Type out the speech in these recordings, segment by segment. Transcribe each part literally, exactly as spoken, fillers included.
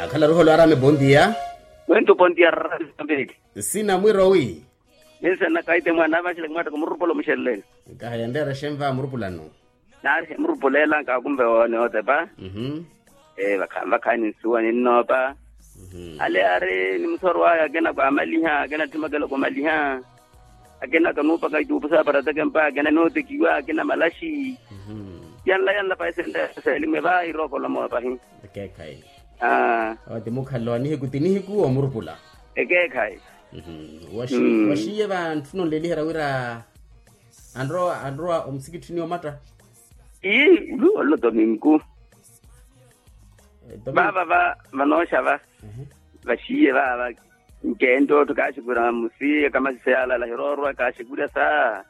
Akhala ruholo arame bondia. Wento bondia rarambiriki. Sina mwiro wi. Ninse nakaite mwana avaxele kumwatta kumurupula omuxeleleni. Kaha yendeera xenva murupulano. Nari emurupulela nkakumbe woone otepa. Mhm. Vakhaani nsuwa ninnoopa. Mhm. Ale ari ni musoro waya akena kwamaliha akena ttimakela kumaliha. Akina kanuupaka ituupu sa parateke mpakina nootekiwa akina malaxi. Yanla yanla pahi senteesa elimu evaha irookolomowa pahi. Ekeekhayi. Awo ti mukhalelo wa nihiku ti nihiku omurupula. Ekeekhayi. Waxiiye vantthuna onlelihera wira anrowa anrowa omusikitthini omatta. Ii olu olo tominku. Vava va vanooxa va vaxiiye vava. Nceento otthu kaaxikura musi akamasisa yalala hiroorwa kaaxikurya sa.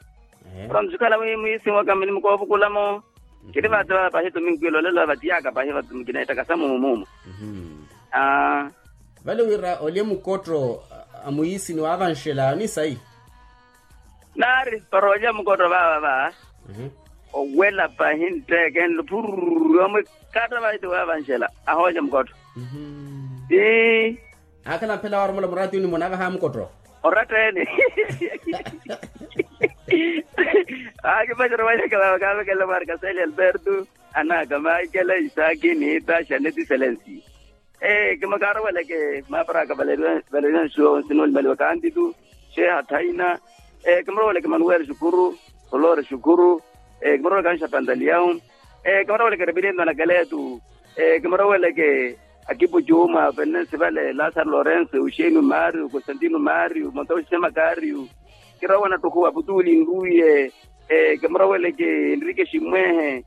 Ora musikhala mwiisi mwaka mini mukoovukulamo. Kiri vati vava pahi tominkwilo lelo vatiyaka pahi vati mukineettaka sa mumu mumu. Vale wira olye mukotto a mwiisi ni waavanxela ni sayi. Nari para olya mukotto vava va owela pahi ntteeke nlo phurru omwikatta vaiti waavanxela ahoolya mukotto. Ii. Akhala mphela waaromola muraatiyo ni muna avaha mukotto. Oratteni. Akipacerya wanyaka vava kaavekelela mwarika seli alberto anaka maikela isaaki niita xaneti selensi. Kimakaaroweleke maparaka valeriwa nsuwa onsi noolimaliwa kantitu. Xeeha thaina. Kimaroweleke manuweli xukuru. Olori xukuru. Kimaroweleke anxa pantaliyahu. Kimaroweleke repirintho na keletu. Kimaroweleke akipu cuuma fenensi vale lasaro lorenso euxenio mario constantino mario montoxi semakario. Kirowa nattuku aputuli nruye. Kimaroweleke enrike ximwehe.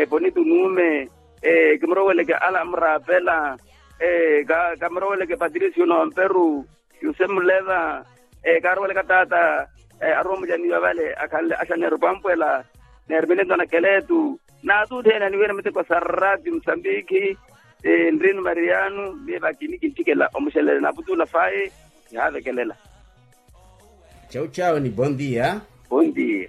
Ponito nuume. Kimuroweleke ala amurapela. Kamuroweleke patricio nomperu. Yuse muleva. Karoweleke taata. Aruwa mucaniwa vale akhanle axaneru pampwela. Nermine ntona keletu. Naatuutthene niwira miteko sarati musambikhi. Nrinu mariano miye vakini kintthikela omuxelele naaputula faye. Kihaavekelela. Chau chau ni bondia. Bondia.